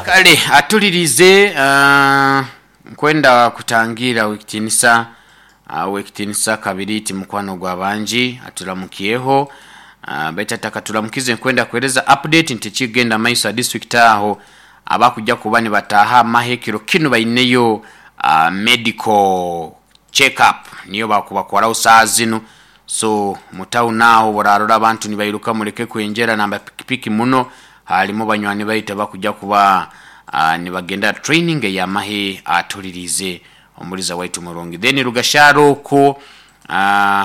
Kale atulirize nkwenda kutangira wekitinisa wekitinisa kabiri mukwano gwa bangi aturamukyeho baitu atakaturamukize nkwenda kuhereza update nti ekigenda maiso a district aho abakujja kuba nibataaha amahe ekiro kinu baineyo medical check up niyo bakubakoraho saaha zinu. So mu town aho borarora abantu nibairuka mureke kwenjera namba pikipiki muno, harimu banywani baitu abakujja kuba nibagenda training ey'amahe atulirize omuliza waitu murungi. Then Rugasharo okwo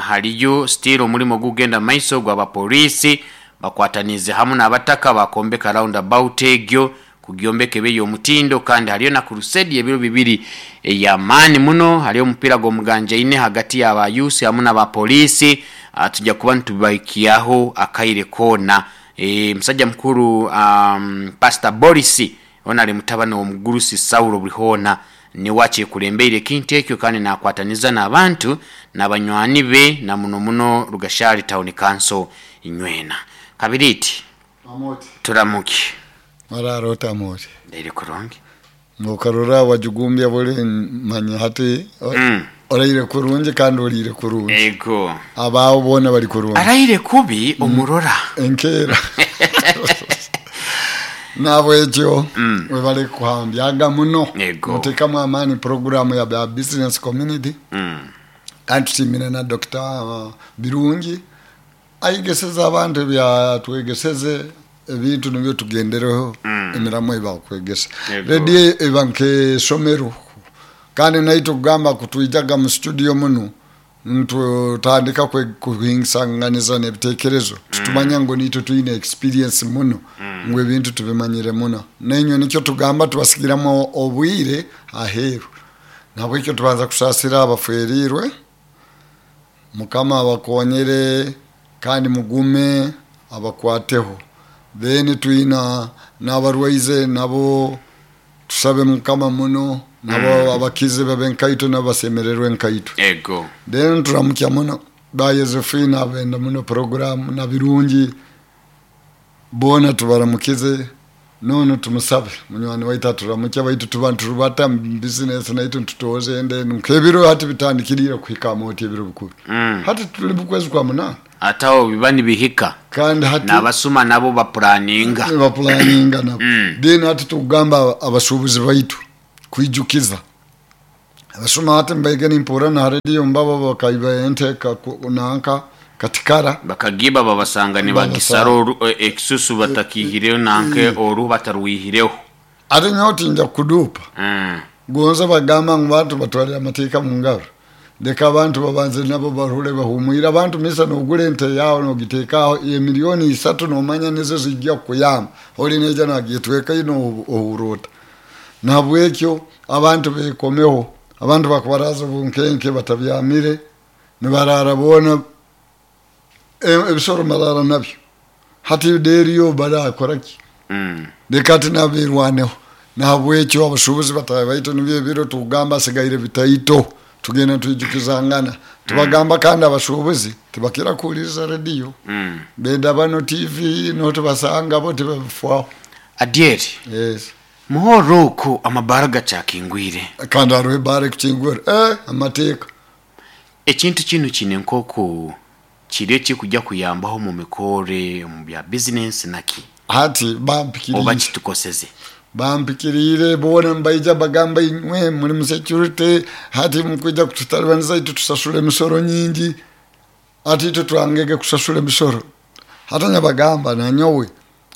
hariyo still omurimo gugenda maiso gw'abapoliisi bakwataniize hamu n'abataka bakombeka roundabout egyo kugyombeka ebe ey'omutindo. Kandi hariyo na crusade y'ebiro bibiri ey'amaani muno. Hariyo omupiira gw'omuganjaine hagati y'aba youth hamu n'abapoliisi. Tujja kuba nitubahikyaho akaire koona. Musajja mukuru Pastor Boris onu ari mutabani w'omugurusi Saulo Burihoona niwe akyekulembeire ekintu ekyo kandi nakwataniza n'abantu n'abanywani be na muno muno Rugashari Town Council nywena. Kabiriiti Amoti. turamuke. Marara ota Amoti? Ndaire kurungi. Nokarora wajugumbya buli manya hati oraire kurungi kandi oriire kurungi. Ego. Abaabo boona bari kurungi. Araire kubi omurora. Enkeera. Nabwekyo webale kuhambyaga muno. Ego. Mutekamu amaani programu ya ba business community. Kandi tusiimire na Dr. Birungi ayegeseze abantu ebyatwegeseze ebintu nibyo tugendereho emiramo ebakwegesa. Yego. Rediyo eba nk'esomero kandi naitwe kugamba kutwijaga mu studio muno ntutandika kuhingisanganiza n'ebitekerezo tutumanya ngu nitwe twine experience muno ngu ebintu tubimanyire muno nainywe nikyo tugamba tubasigiramu obwire aheeru. Nabwekyo tubanza kusaasira abafwerirwe, Mukama abakonyere kandi mugume abakwateho. Then twina n'abarwaize nabo tusabe Mukama muno nabo abakize babe nkaitwe nabo basemererwe nkaitwe. Ego. Then turamukya muno ba Yosefina abenda muno program na Birungi boona tubaramukize nono tumusabe munywani waitu aturamukya baitu tuba nturubata mu business naitu ntutoze ende nk'ebiro hati bitandikirire kuhika amoti ebiro bikuru. Hati tuli mu kwezi kwa munana Ate aho biba nibihika kandi hati n'abasuma nabo bapuraninga. bapulaninga nabo. Then hati tukugamba abasuubuzi baitu kwijukiza abasuma hati mbaige nimpura na rediyo mbabo bakaiba ente nanka katikara Bakagiba babasanga nibagisara ekisusu batakihireho nanke oruhu batarwihireho. Ate nyowe tinja kuduupa. Gonza bagamba ngu bantu batwalire amateeka mu ngaro, leka abantu babanze nabo barule bahumwire. Abantu misa nogura ente yawe nogiteeka aho emiliyoni isatu nomanya nizo zijja kukuyamba oli neija nagyetwekayo nohurota. Nahabwekyo abantu bekomeho, abantu bakubaraza obunkenke batabyamire nibarara boona ebisoro marara nabyo hati deriyo barakoraki. Leka ati nabirwaneho. Nahabwekyo abashubuzi batahe baitu nibyo ebiro tugamba asigaire bitaito tugenda twijukizangana tubagamba. Kandi abashubuzi tibakira kuhuliriza rediyo, benda bano TV notubasanga bo tibabifwaho. Adyeri. Yes. Muhoro oku amabara gakyakingwire. Kandi hariho ebara ekukingwire amateeka. Ekintu kinu kine nk'oku kiri ekikujja kuyambaho omu mikore omu bya bizinensi naki Hati oba bampikiriire. kitukoseze. Bampikiriire boona nibaija bagamba inywe muri mu security hati mukwija kututalibaniza itwe tusasura emisoro nyingi hati itwe twangege kusasura emisoro. Hati nyabagamba nanyowe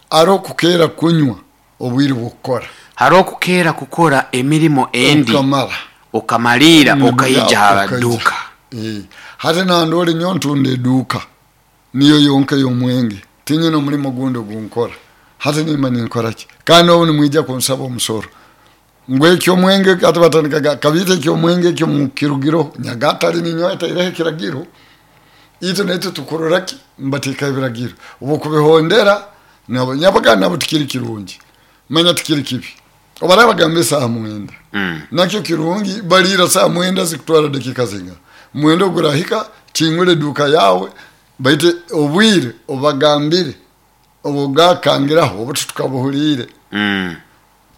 hariho okukeera kunywa obwire bw'okukora. Hariho okukeera kukora emirimo endi okamara okamaliira okaija aha Okaija. duuka. Hati nandora nyowe ntunda eduuka niyo yonka ey'omwenge tinyine omurimo gundi ogunkora. Hati nimba ninkora ki kandi obu nimwija kunsaba omusoro ngu ekyomwenge hati batandikaga kabiita ekyomwenge ekyo mukirugireho nyagatare ninyowe ataireho ekiragiro itwe naitwe tukurora ki nibateekaho ebiragiro obukubihondera nabo nyabaga nabo tikiri kirungi manya tikiri kibi obaraba bagamba esaaha 9 nakyo kirungi baliira saa 9 zikutwara dakika zingana mwenda ogurahika kingura eduuka yawe baitu obwire obagambire obugakangiraho obu tukabuhuriire.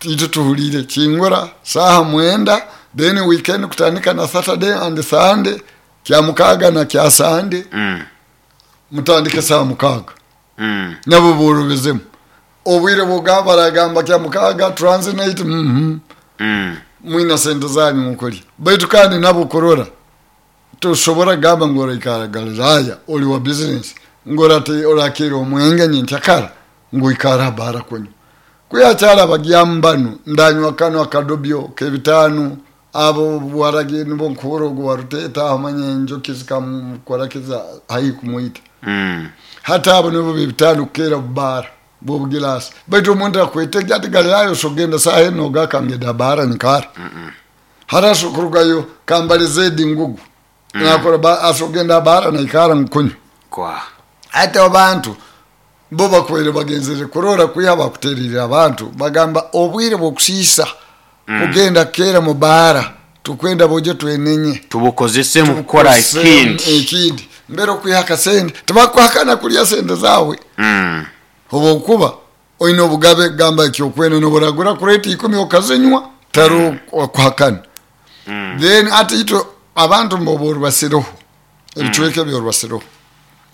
Itwe tuhulire kingura saaha 9, then weekend kutandika na Saturday and Sunday, kya mukaaga na kya Sunday, mutandike saaha 6. Nabo borobezemu obwire bwogamba baragamba kya mukaaga transit, mwina sente zanyu mukulya. Baitu kandi nabo kurora tosobora kugamba ngu oraikara Galilaya oli wa business ngu orakira omwenge nyenkyakara ngu oikara bara kunywa. Kuyakyara bagyamu banu ndanywa kano akadobyo k'ebitaano, abo waragi nibo nkuhura ogu waruteta amanye enjoki zikamukora kiza haihi kumwita. Hati abo nibo b'ebitaano kukera bubara bw'obugilasi. Baitu omuntu akwetege ati Galilaya osogenda saaha eno ogaka ngenda bara nyikara. Hati asokurugayo kambale zedi ngugu. Nakora asogenda bara naikara nkunywa. Kwa Hati abantu bo bakwere bagenzere kurora kwiha bakuterire abantu bagamba obwire bwokusiisa kugenda kera mu bara tukwenda boje twenenye tubukozese mu kukora ekindi. Ekindi mbere okwiha akasente tibakuhakana kulya sente zawe. Oba okuba oine obugabe gamba ekyokwenda noburagura kureta 10 okazinywa taro okuhakana. Then ati itwe abantu mboborubasireho ebicweka ebyorubasireho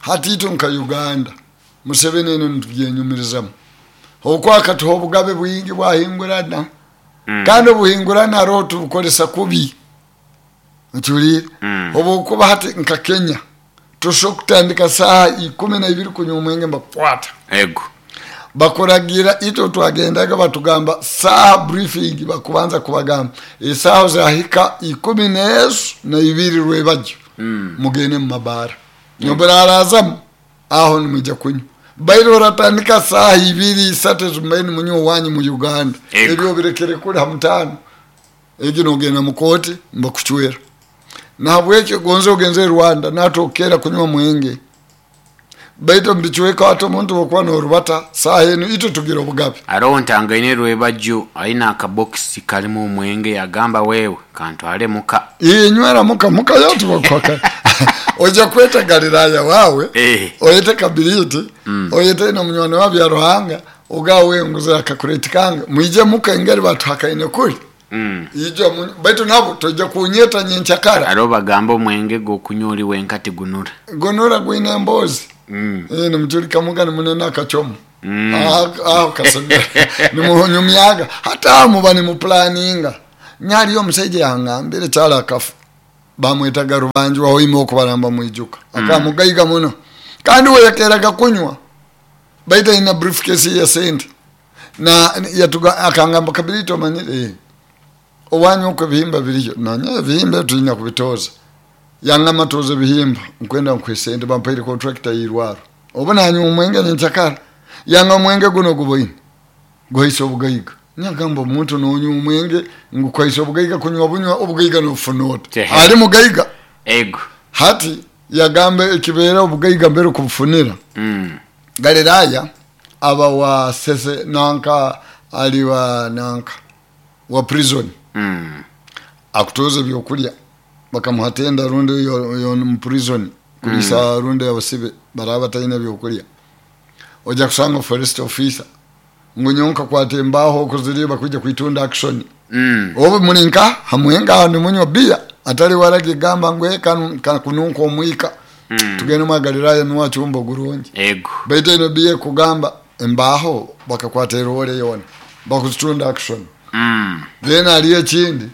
hati itwe nka Uganda Museveni eno nitubyenyumirizamu okwakatuha obugabe bwingi bwahingurana. Kandi obuhingurana hariho tubukoresa kubi okiwulire. Obukuba hati nka Kenya tosobola kutandika saaha 12 kunywa omwenge mbakukwata. Ego. Bakuragira itwe twagendaga batugamba saaha briefing bakubanza kubagamba esaaha zahika 12 rwebajyo. Mugende mu mabara nyoburarazamu aho nimujya kunywa. Bairo oratandika saaha 2 3 zimbaini munywa wanyu mu Uganda. Ebyo birekere kuli ha mutano egi nogenda mu kooti mbakuchwera. Nahabwekyo gonze ogenze Rwanda natokera kunywa mwenge. Baitu mbichweka ate omuntu wokuba norubata saaha eno itwe tugira obugabe. Aroho ntangaine rwebajjo aina akabokisi kalimu omwenge yagamba wewe kantwale muka. Inywera muka muka yote bakwaka. Oja kweta Galilaya wawe. Oyete kabiriti. Oyete na munywani wa bya Ruhanga ugawe nguze akakureti kange mwije muka engeri batuhakaine kuli. Ijo baitu nabo toja kunyeta nyenchakara. Aro bagamba omwenge go kunywa wenka tigunura. Gonura gwine embozi. Nimujulika muga nimunene akachomo. Aho kasomera. Nimunyumyaga hata muba nimuplaninga. Nyali omusajja yangambire kyala akafu. Bamwetaga Rubanju aho ime okubaramba mwijuka. Akamugaiga muno. Kandi we yakeraga kunywa. Baita ina briefcase ya sente. Na yatuga akangamba kabirito manire. Owanyu uko bihimba biriyo. Nanya bihimba tulinya kubitoza. Yangama toze bihimba nkwenda nkwesente bampaire contractor yirwaro. Obona anyu omwenge nchakara. Yanga omwenge guno guboine. Gwaisa obugaiga. Nyagamba omuntu nonyu omwenge ngukwaisa obugaiga kunywa bunywa obugaiga nofunota. Ali mugaiga. Ego. Hati yagamba ekibera obugaiga mbere kubufunira. Galilaya aba wa sese nanka aliwa nanka wa prison. Akutoza byokulya bakamuhatenda runde yo mu prison kulisa runde abasibe baraba taina byokulya. Oja kusanga forest officer ngunyonka kwatembaho kuziriba kuja kuitunda action. Obo muninka hamwenga ni munywa bia atali waragi gamba ngwe kununko omwika. Tugende mu Galilaya nuwa chumbo gurungi. Ego. Baite no bia kugamba embaho bakakwata role yona bakuzitunda action. Then aliye chindi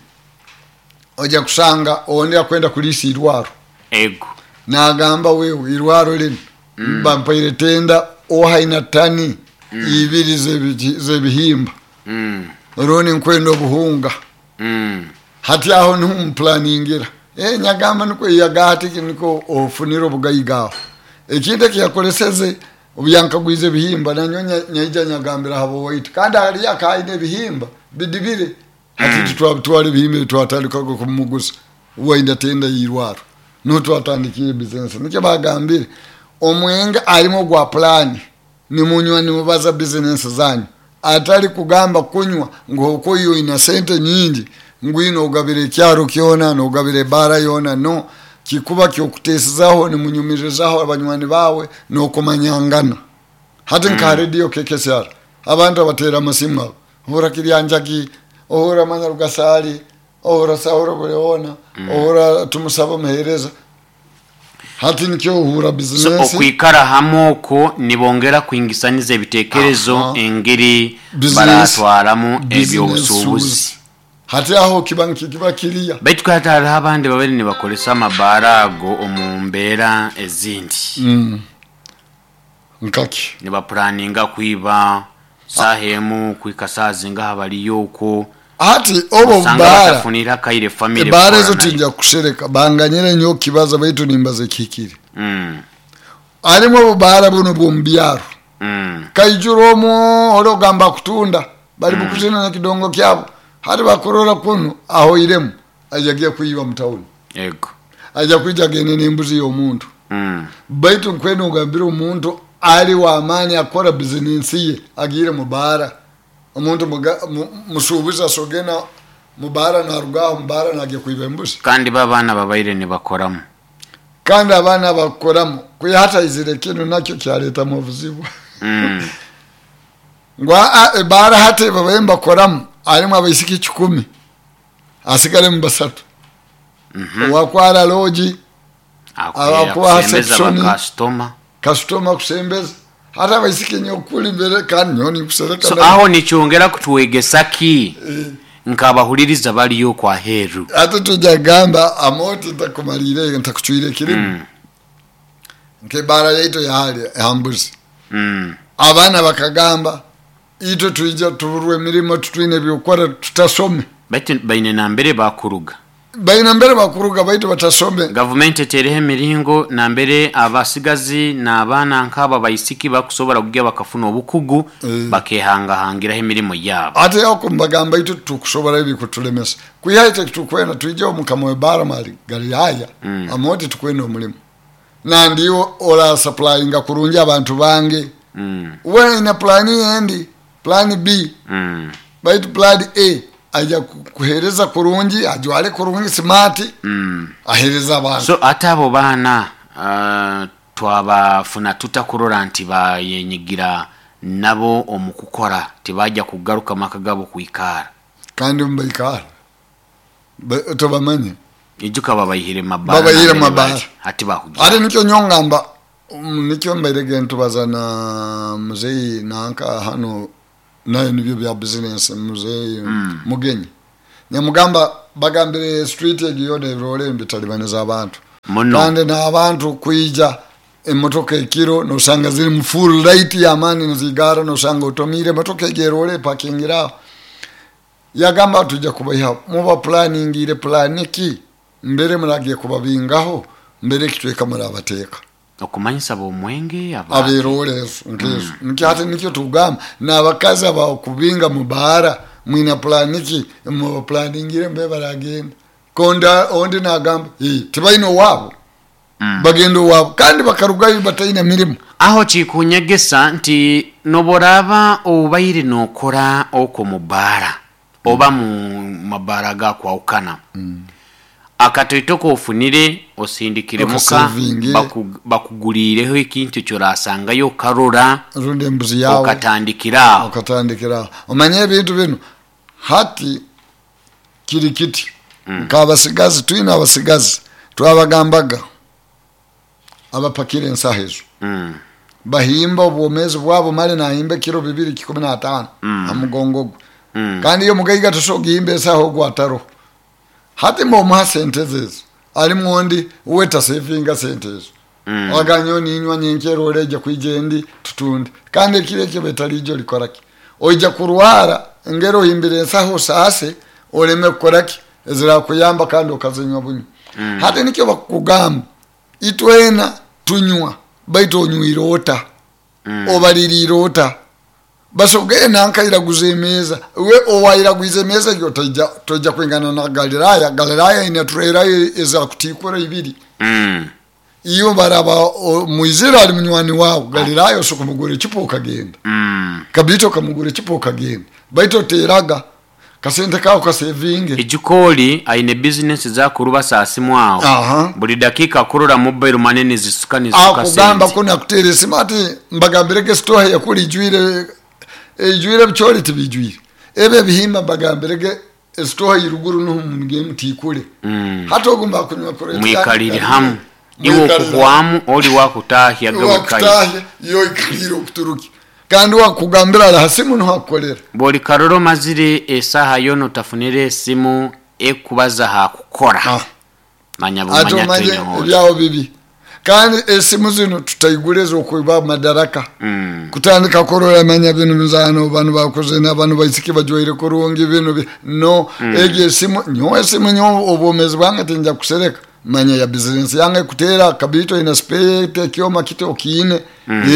oja kusanga ondi akwenda kulisi irwaro. Ego. Nagamba wewe irwaro lino bampaire tenda ohaina tani ibiri zebihimba. Roni nkwenda obuhunga. Hati aho ntumplaningira. Nyagamba niko yagati niko ofunira obugaiga. Ekindi kiyakoleseze obyankagwize bihimba nanyonya nyaija nyagambira habo wait. Kandi ali akaine bihimba bidibire. Hati twatwale bihimba twatandika kumuguza. Wainda tenda yirwaro. No twatandikiye business. Nikyo bagambire omwenga alimo gwa plan. Ni munywa ni mubaza business zanyu. Atali kugamba kunywa ngo koyo ina sente nyingi ngwino ugabire kyaro kyona no ugabire bara yona no kikuba kyokutesezaho ni munyumirizaho abanywani bawe no kumanyangana. Hati nka radio KKSR abantu abatera amasimu abo. Ohura Kiryanjagi, ohura Manya Rugasaali, ohura Sahura Buleona, ohura Tumusaba Muheereza. Hati nikyo ohura So bizinesi. Okwikara hamu okwo nibongera kwingisaniza ebitekerezo engeri Business. baratwaramu Business. ebyobusuubuzi. Hati aho kiba nikiba kiriya. Baitu kandi hariho abandi babere nibakoresa amabaara ago omu mbeera ezindi. Nkaki? Nibapuraninga kwiba saaha emu kwika saaha zingaha bariyo okwo. Hati obo osanga baara batafunire akaire famire ebaara ezo kukora nayo. Tinja kusereka banganyire nyo kibaza baitu nimbaza ekihikire. Harimu obubaara buno bw'omu byaro. Kaijura omwo ori ogamba kutunda bari bukuzina nekidongo kyabo. Hati bakurora kunu ahoiremu aija giya kwiba mu tawuni. Ego. Aija kwija agende n'embuzi y'omuntu. Baitu nkwena ogambire omuntu ali w'amaani akora bizinensi ye agiire mu baara. Omuntu musuubuzi asogena mu baara narugaho mu baara nagiya kwiba embuzi. Kandi babaana babaire nibakoramu. Kandi abaana bakukoramu kuya hataizire kinu nakyo kyaletamu obuzibu. Ngu ebaara hati babaire nibakoramu harimu abaisiki 10 asigaremu 3. Owakwara loogi, abakubaha akusembeza section. Bakasitoma. Kasitoma kusembeza hati abaisiki nyokuli mbere kandi nyo nikusereka. So aho nikyongera kutwegesa ki nk'abahuliriza bariyo kwaheeru? Hati tujja kugamba amoti ntakumalire ntakucwire ekirimu nk'ebaara yaitu yahali hambuzi. Abaana bakagamba itwe twija tuburwe emirimo tutwine ebyokukora tutasome. Baitu baine nambere bakuruga. Baina mbere bakuruga baitu batasome. Gavumenti etereho emiringo nambere abasigazi n'abaana nk'aba baisiki bakusobora kugya bakafuna obukugu bakehangahangiraho emirimo yaabo. Ate ako mbagamba itwe tukusobora ebikutulemesa kwiha itwe tukwenda twije omukama w'ebaara mali Galilaya. Amoti tukwenda omulimu nandiyo ora supplyinga kurungi abantu bange. We ina plani endi plan B. Baitu plan A aja kuhereza kurungi ajwale kurungi smart. Ahereza abantu. So ate abo baana twabafuna tutakurora nti bayenyigira nabo omu kukora tibajja kugaruka maka gabo kwikara. Kandi mubaikara tobamanye. Ijuka babayihire mabara. Babayihire nambere mabara. bari, hati bakugira. Ate nikyo nyongamba nikyo mbairege ntubaza na muzeyi nanka hano nayo nibyo bya business muzeyi Mugenyi nyamugamba bagambire street egiyo nebirole bitalibaniza abantu. Muno. Kandi n'abantu kwija emotoka ekiro nosanga ziri mu full light y'amaani nizigara nosanga otomire emotoka egerole parkingira. Yagamba tujja kubaha muba planning planiki mbere muragiye kubabingaho mbere kitweka murabateka. Okumanyisa bomwenge aba aberole ezo nkezo. Nikyo ate nikyo tugamba n'abakazi abakubinga mu baara mwina planiki muba planingire mbe baragenda konda ondi nagamba tibaina owabo. Bagenda owabo kandi bakarugayo bataina mirimu. Aho kikunyegesa nti noboraba obaire nokora oko mu baara oba mu mabaara gakwawukana. Akatoito kofunire osindikire muka Okasavinge. Bakugulireho ekintu kyorasangayo karora rundi embuzi yawe okatandikira aho. Okatandikira aho. Omanye ebintu bino hati kiri kiti. Nk'abasigazi twine abasigazi twabagambaga abapakira ensaho ezo. Bahimba obwomezi bwabo male nahimba kiro bibiri kikumi na tano amugongo gwe. Kandi iyo mugaiga tosoga ensaho ogwo ataroho. Hati mbomuha sente zezo ali mwondi uwe tasevinga sente ezo. Aganyo ninywa nyenkero oreja kwijendi tutunde kandi ekiro ekyo betalijo likoraki oija kurwara engero ohimbire ensaho saase oleme kukoraki ezirakuyamba kandi okazinywa bunywa. Hati nikyo bakugamba itwena tunywa baitu onywire ota. Obaliriire ota basogeye nankairaguza emeza we owairaguiza emeza egyo toija kwingana na Galilaya. Galilaya ina turera ezakutikura ibiri. Iyo baraba muizira ali munywani wawe Galilaya osokumugura ekipo okagenda. Kabito okamugura ekipo okagenda baitu oteraga kasente kawo kasevinge. Ejikoli aine business zakuruba saasimu aho. Buli dakika akurora mobile money nizisuka nizisuka akugamba sente. Ko nakutera esimu ati mbagambirege stoha yakuli ijwire ijwire bicholi tibijwire. Ebyo ebihimba mbagambirege esitoha iruguru nuhu mugende mutikule. Hati ogu mbakunywa kureta Mwikalire hamu, iwe okuhwamu oli wakutahya gawe. Wakutahya yo ikalire okuturuki kandi wakugambira ala hasimu nuhu akukolera. Bwoli karoro omazire esaha yona otafunire esimu ekubaza hakukora. Ah. Manya Ate bumanya omanye twenehoza. Ebyawo bibi kandi esimu zino tutaigule ezokuba madaraka. Kutandika kurora manya bino mizano bano bakoze bano baisiki bajwaire kurungi bino no. Egyo esimu nyowe esimu nyowe obwomezi bwange tinja kusereka manya ya bizinesi yange kutera kabito ina spare ekyoma kiti okiine.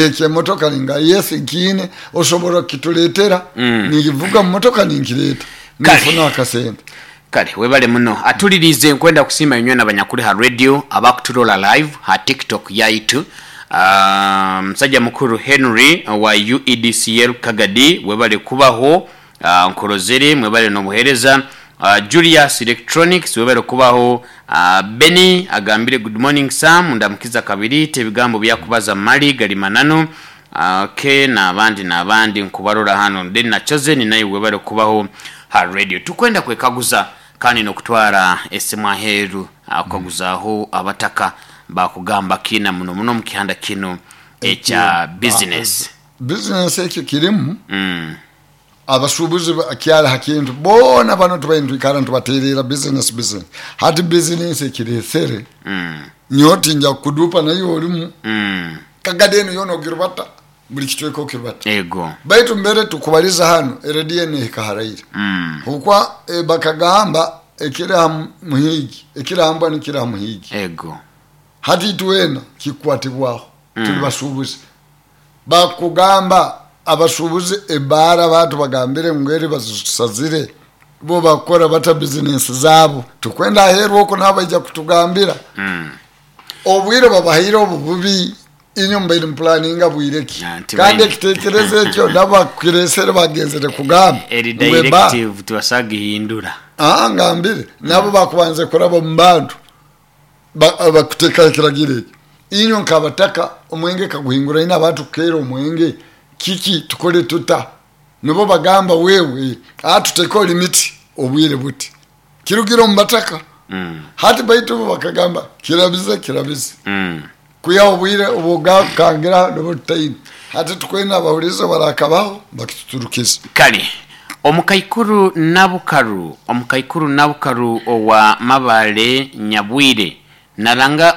Ekyemotoka ninga yes nkiine osobora kituletera. Nivuga mumotoka ninkireta nifuna akasente. Kale webale muno atulirize nkwenda kusiima inywe nabanyakuli ha radio abakuturola live ha TikTok yaitu. Musajja mukuru Henry wa UEDCL Kagadi, webale kubaho. Nkorozere mwebale n'obuhereza. Julius Electronics, webale kubaho. Benny agambire good morning Sam, ndamukiza kabiri ebigambo byakubaza mali gali mananu. Ke n'abandi n'abandi nkubarora hano then nachoze ni naye webale kubaho ha radio. Tukwenda kwekaguza kandi nokutwara esimu aheru kukaguzaho abataka bakugamba kina muno muno mukihanda kino ekya business. Bizinesi ekyo kirimu. Abasuubuzi kyali hakintu boona bano tubaire nitwikara nitubaterera business business hati business ekiresere. Nyowe tinja kukudupa naye olimu. Kagadi eno yoona ogirubata buli kicweka okirubata. Ego. Baitu mbere tukubaliza hano erediyo eno ehika haraire. Hukwa bakagamba ekiri ha muhigi ekiri hambwa nikiri ha muhigi. Ego. Hati itwena kikwatibwaho. Tuli basuubuzi bakugamba abasuubuzi ebaara batu bagambire ngu eri bazisazire bo bakora bata bizinesi zaabo tukwenda aheeru okwo nabo baija kutugambira. Obwire babahaire obu bubi inyo mubaire mupulaninga bwire ki? Ah, nti kandi ekitekerezo ekyo nabo bakiresere bagenzere kugamba eri ngu eba- directive tibasagihindura. Aa ngambire nabo bakubanze kuraba mu bantu bakutekaho ekiragiro ekyo inywe nkabataka omwenge kaguhingura ine abantu kukeera omwenge kiki tukole tuta nibo bagamba wewe tuteko limiti obwire buti kirugire omu bataka. Hati baitu bo bakagamba kirabize kirabize. Kuya obwire obwogakangira nibo tutaine hati tukwenda abahurize barakabaho bakituturukiza. Kale omukaikuru Nabukaru, omukaikuru Nabukaru owa Mabale Nyabwire naranga.